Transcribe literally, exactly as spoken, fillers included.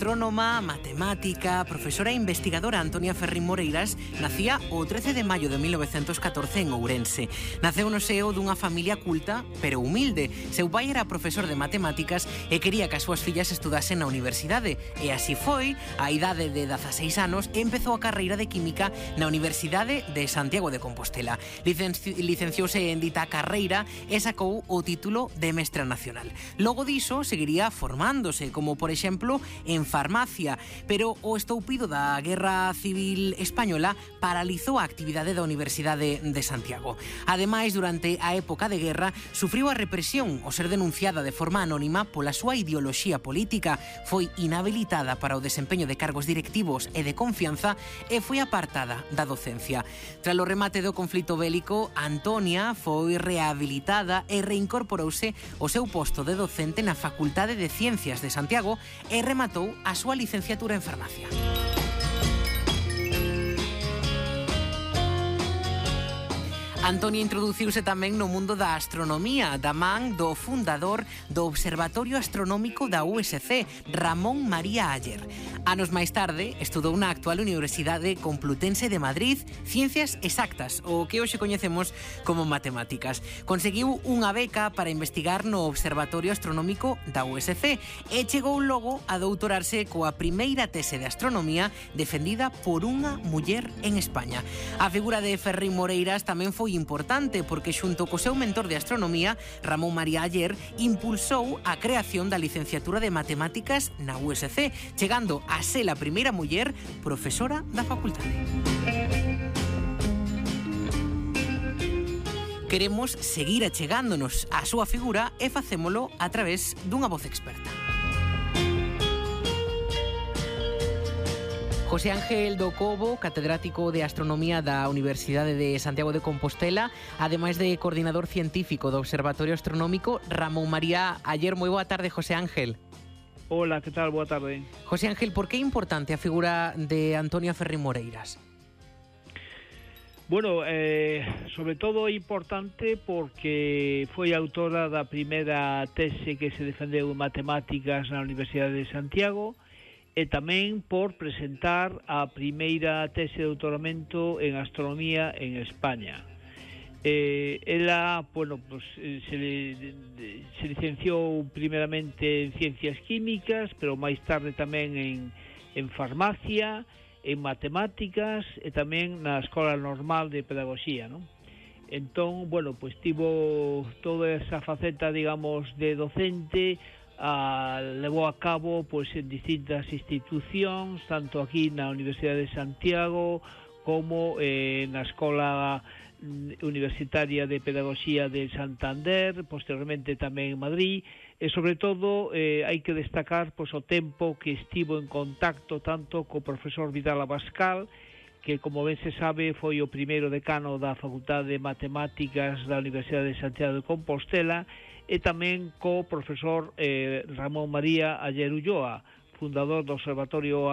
Astrónoma, matemática, profesora e investigadora Antonia Ferrín Moreiras nacía o trece de maio de mil novecentos catorce en Ourense. Naceu no seo dunha familia culta, pero humilde. Seu pai era profesor de matemáticas e quería que as súas fillas estudasen na universidade. E así foi, a idade de dezaseis anos, empezou a carreira de Química na Universidade de Santiago de Compostela. Licenci licenciouse en dita carreira e sacou o título de mestra nacional. Logo diso, seguiría formándose, como por exemplo en farmacia, pero o estoupido da Guerra Civil Española paralizou a actividade da Universidade de Santiago. Ademais, durante a época de guerra, sufriu a represión ao ser denunciada de forma anónima pola súa ideoloxía política, foi inhabilitada para o desempeño de cargos directivos e de confianza e foi apartada da docencia. Tras o remate do conflito bélico, Antonia foi rehabilitada e reincorporouse ao seu posto de docente na Facultade de Ciencias de Santiago e rematou a súa licenciatura en farmacia. Antonia introduciuse tamén no mundo da astronomía, da man do fundador do Observatorio Astronómico da U S C, Ramón María Ayer. Anos máis tarde, estudou na actual Universidade Complutense de Madrid Ciencias Exactas, o que hoxe coñecemos como matemáticas. Conseguiu unha beca para investigar no Observatorio Astronómico da U S C e chegou logo a doutorarse coa primeira tese de astronomía defendida por unha muller en España. A figura de Ferrín Moreiras tamén foi importante porque xunto co seu mentor de astronomía, Ramón María Ayer, impulsou a creación da licenciatura de matemáticas na U S C, chegando a ser a primeira muller profesora da facultade. Queremos seguir achegándonos á súa figura e facémolo a través dunha voz experta. José Ángel do Cobo, catedrático de Astronomía da Universidade de Santiago de Compostela, ademais de coordinador científico do Observatorio Astronómico, Ramón María Ayer. Moi boa tarde, José Ángel. Hola, que tal? Boa tarde. José Ángel, por que é importante a figura de Antonia Ferrín Moreiras? Bueno, eh, sobre todo é importante porque foi autora da primeira tese que se defendeu en matemáticas na Universidade de Santiago e tamén por presentar a primeira tese de doutoramento en astronomía en España. Eh, ela, bueno, pues, se, se licenciou primeramente en Ciencias Químicas, pero máis tarde tamén en, en Farmacia, en Matemáticas e tamén na Escola Normal de Pedagogía, ¿no? Entón, bueno, pues tivo toda esa faceta, digamos, de docente. Uh, levou a cabo pois, en distintas institucións, tanto aquí na Universidade de Santiago como eh, na Escola Universitaria de Pedagogía de Santander, posteriormente tamén en Madrid, e sobre todo eh, hai que destacar pois, o tempo que estivo en contacto tanto co profesor Vidal Abascal, que como ben se sabe foi o primeiro decano da Facultade de Matemáticas da Universidade de Santiago de Compostela, e tamén co profesor eh, Ramón María Ayer Ulloa, fundador do Observatorio